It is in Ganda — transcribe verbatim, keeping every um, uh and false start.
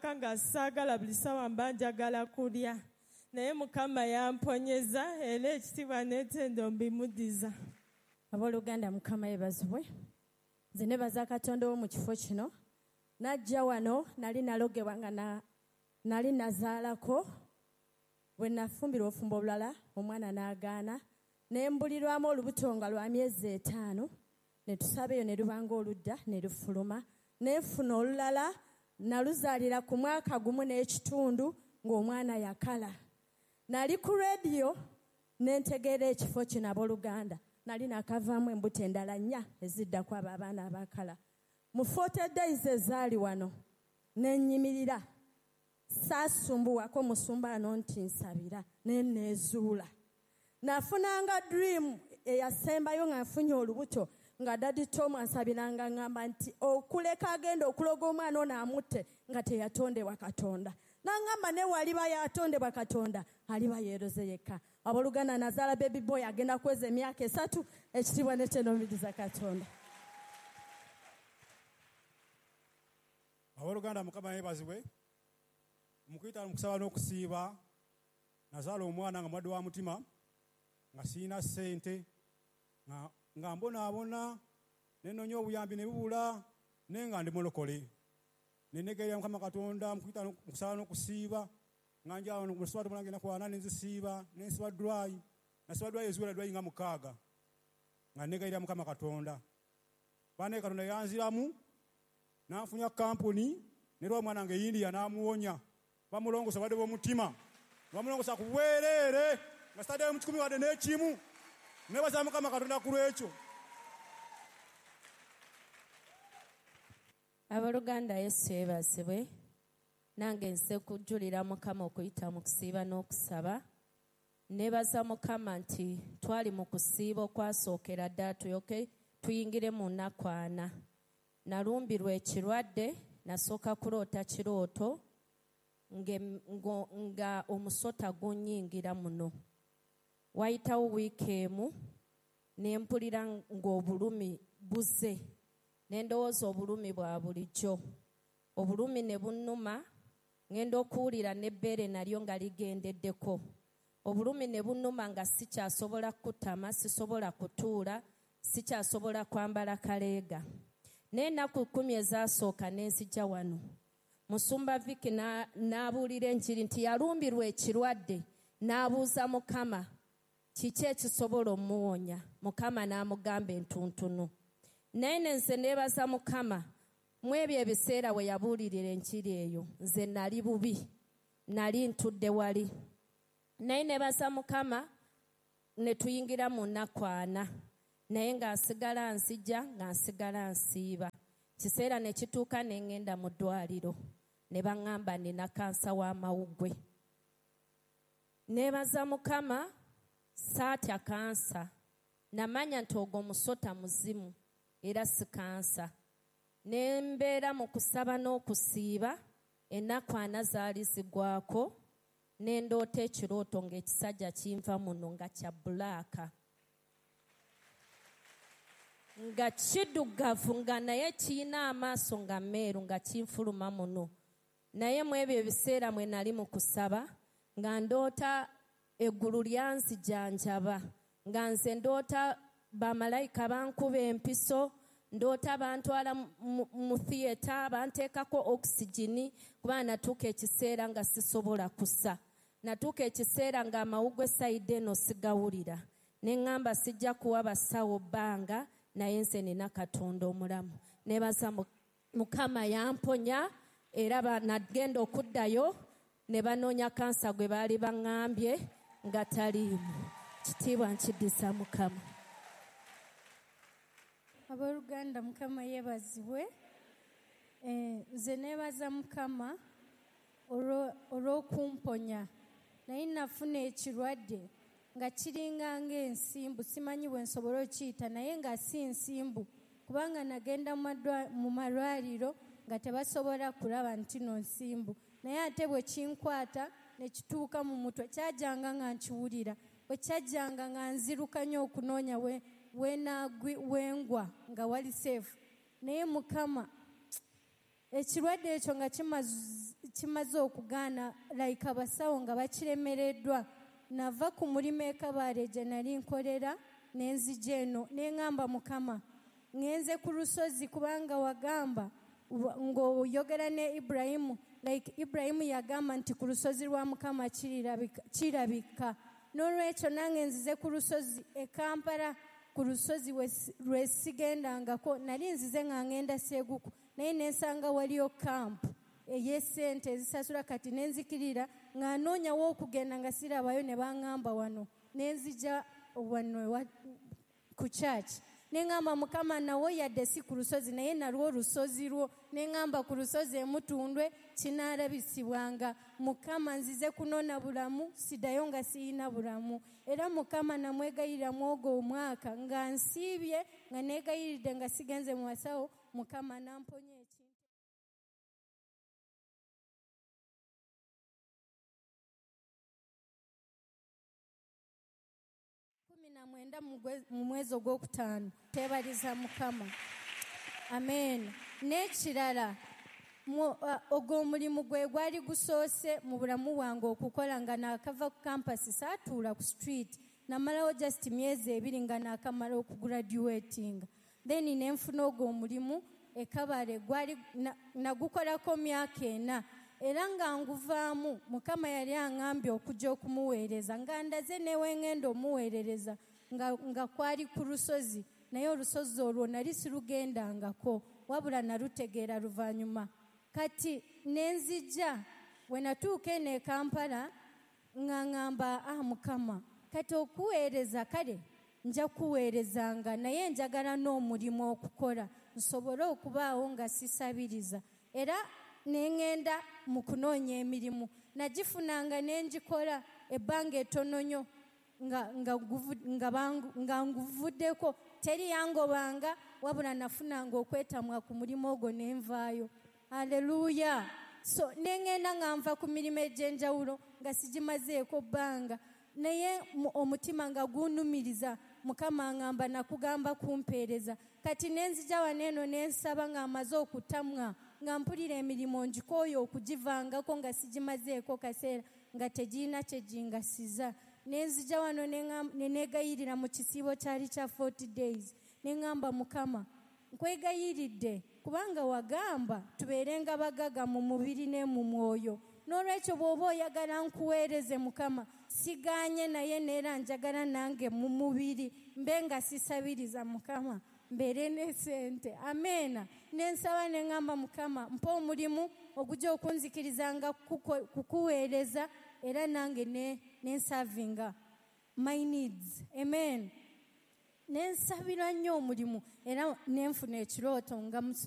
Nasooka nga saagala, buli ssaawa mba njagala kulya, naye Mukama yamponyeza era ekitiibwa n'ettendo mbimudiza. Abooluganda, Mukama yeebazibwe. Nze nebaza Katonda ow'omu kifo kino. Najja wano nali nalogebwa nga na, nali nazaalako. Bwe nafumbirwa obufumbo obulala, omwana n'agaana, ne mbulirwamu olubuto nga lwa myezi etaano, ne tusaba eyo ne lubanga oludda ne lufuluma. Ne nfuna olulala, naluzaalira ku mwaka gumu n'ekitundu ng'omwana yakala. Nali ku rediyo ne ntegeera ekifo kino, abooluganda. Nali nakavaamu embuto endala nnya eziddako abo abaana abakala. Mu forty days ezaali wano ne nnyimirira, saasumbuwako musumba ano nti nsabira, ne neezuula. Nafunanga dream eyasembayo nga nfunye olubuto, nga Daddy Tom ansabiranga ngamba nti okuleka agenda okuloga omwana ono amutte nga teyatondebwa Katonda. Nangamba ne waliba yatondebwa Katonda aliba yeeroze yekka. Abooluganda, nazaala baby boy agenda kuweza emyaka esatu. Ekitiibwa n'ekyenoomiriza Katonda. Abooluganda, Mukama yeebazibwe. Mukuyita mu kusaba n'okusiiba, nazaala omwana nga mulwadde wa mutima, nga sirina ssente, nga, nga mbonaabona, ne nnoonya obuyambi ne bubula, naye nga ndi mulokole. Ne nneegerera Mukama Katonda mu kuyita mu kusaba n'okusiiba, nga njala wano mu sswatu mulange ennaku ana ne nzisiiba, ne nsiba dry, nasiba dry eziwera dry nga mukaaga, nga nneegerera Mukama Katonda. Bannaye Katonda yanziramu, n'anfunya kampuni, ne lwa omwana nga India n'amuwonya. Bamulongosa badde b'omutima, bamulongosa ku bwereere, nga sitaddeyo mu kikumi wadde n'ekimu. Neebaza Mukama Katonda ku lw'ekyo. Abooluganda, Yesu yeebazibwe. Nange nze kujulira Mukama okuyita mu kusiiba n'okusaba. Neebaza Mukama nti twali mu kusiiba okwasookera ddala tuyoke tuyingire mu nnaku ana. Nalumbirwa ekirwadde, nasooka kuloota kirooto nge-, ngo-, nga omusota gunnyingira muno. Wayitawo wiiki emu ne mpulira ng'obulumi buzze, ne ndowooza obulumi bwa bulijjo. Obulumi ne bunnuma, ngenda okuwulira n'ebbeere nalyo nga ligendeddeko. Obulumi ne bunnuma nga sikyasobola kukutama, sisobola kutuula, sikyasobola kwambala kaleega. N'ennaku kkumi ezasooka ne nzija wano. Musumba Vicky na-, n'abuulira enjiri nti yalumbirwa ekirwadde, n'abuuza Mukama kiki ekisobola omuwonya. Mukama n'amugamba entuntunu. Naye ne nze neebaza Mukama mu ebyo ebiseera we yabuulirira enjiri eyo, nze nali bubi, nali ntudde wali. Naye neebaza Mukama ne tuyingira mu nnaku ana, naye nga nsigala nzija, nga nsigala nsiiba. Kiseera ne kituuka ne ŋŋenda mu ddwaliro, ne baŋŋamba nina kansa w'amawuggwe. Neebaza Mukama saatya kansa, namanya nti ogwo musota muzimu era si kansa. Ne mbeera mu kusaba n'okusiiba, ennaku ana zaali zigwako, ne ndoota ekirooto ng'ekisajja kinva muno nga kya bulaaka, nga kiddugavu, nga naye kiyina amaaso nga meeru, nga kinfuluma muno. Naye mu ebyo ebiseera mwe nali mu kusaba, nga ndoota eggulu lyanzijanjaba, nga nze ndoota bamalayika bankuba empiso, ndoota bantwala mu, mu theatre, banteekako oxygen, kuba natuuka ekiseera nga sisobola kussa. Natuuka ekiseera nga amawuggwe sayidi eno sigawulira. Ne ŋŋamba sijja kuwa basawo bbanga, naye nze nina Katonda omulamu. Neebaza mu-, Mukama yamponya, era ba-, nagenda okuddayo ne banoonya kansa gwe baali baŋŋambye nga taliimu. Kitiibwa nkiddiza Mukama. Abooluganda, Mukama yeebazibwe. Eh, nze neebaza Mukama olwo-, olw'okumponya. Naye nafuna ekirwadde nga kiringa ng'ensimbu, simanyi bwe nsobola okiyita, naye nga si nsimbu, kubanga nagenda mu madwa-, mu malwaliro nga tebasobola kulaba nti no nsimbu. Naye ate bwe kinkwata ne kituuka mu mutwe, kyajjanga nga nkiwulira, bwe kyajjanga nga nziruka nnyo okunoonya we, we naagwi, we ngwa nga wali safe. Naye Mukama, Ekirwadde ekyo nga kimaze okugaana, like abasawo nga bakiremereddwa. Nava ku mulimu e Kabale gye nali nkolera ne nzija eno, ne ŋŋamba Mukama, ŋŋenze ku lusozi kubanga wagamba ng'oyogera ne Ibulayimu, like Ibulayimu yagamba nti ku lusozi lwa Mukama kirabika. N'olwekyo nange nzize ku lusozi e Kampala, ku lusozi lwe sigendangako. Nali nzize nga ŋŋenda Seguku, naye ne nsanga waliyo kampu ey'essente ezisasula. Kati ne nzikirira nga noonyawo okugenda nga sirabayo, ne baŋŋamba wano, ne nzija wano ku church. Ne ŋŋamba Mukama, nawo yadde si ku lusozi naye nalwo olusozi lwo. Ne ŋŋamba ku lusozi e Mutundwe kinaalabisibwanga. Mukama nzize kunona bulamu, siddayo nga siyina bulamu. Era Mukama namwegayirira mu ogwo omwaka nga nsiibye, nga neegayiridde nga sigenze mu basawo, Mukama n'amponya ekintu. Kumi na mwenda mu mwezi ogwokutaano. Teebaliza Mukama. Amen. N'ekirala, ogwo omulimu gwe gwali gusoose mu bulamu bwange okukola nga naakava ku campus, saatuula ku street. Namalawo just myezi ebiri nga naakamala okugraduatinga. Then ne nfuna ogwo omulimu e Kabale, gwali nagukolako myaka ena. Era nga nguvaamu, Mukama yali aŋŋambye okujja okumuweereza, nga ndaze ne we ŋŋenda omuweerereza, nga, nga kwali ku lusozi, naye olusozi olwo nali sirugendangako, wabula nalutegeera luvannyuma. Kati ne nzija, bwe natuuka eno e Kampala, nga ŋŋamba, ah Mukama, kati okuweereza kale nja kuweerezanga, naye njagala n'omulimu okukola, nsobole okubaawo nga sisabiriza. Era ne ŋŋenda mu kunoonya emirimu, nagifunanga ne ngikola ebbanga ettono nnyo nga, nga, nga, nga nguvuddeko, teri yangobanga, wabula nafunanga okwetamwa ku mulimu ogwo ne nvaayo. Haleluya. So ne ŋŋenda nga nva ku mirimu egy'enjawulo nga sigimazeeko bbanga, naye omutima nga gunnumiriza. Mukama aŋŋamba nakugamba kumpeereza. Kati ne nzija wano eno ne nsaba nga mmaze okutamwa, nga mpulira emirimu ngikooye okugivangako nga sigimazeeko kaseera, nga tegirina kye gingasiza. Ne nzija wano ne neegayirira mu kisiibo kyali kya forty days. Ne ŋŋamba Mukama, nkwegayiridde kubanga wagamba tubeerenga bagaga mu mubiri ne mu mwoyo. N'olwekyo bw'oba oyagala nkuweereze Mukama, sigaanye naye neera njagala nange mu mubiri mbe nga sisabiriza Mukama, mbeere ne ssente. Ameena. Ne nsaba ne ŋŋamba Mukama, mpa omulimu ogujja okunzikirizanga kukuweereza, era nange ne nsavinga my needs. Amen. Ne nsabira nnyo omulimu, era ne nfuna ekirooto nga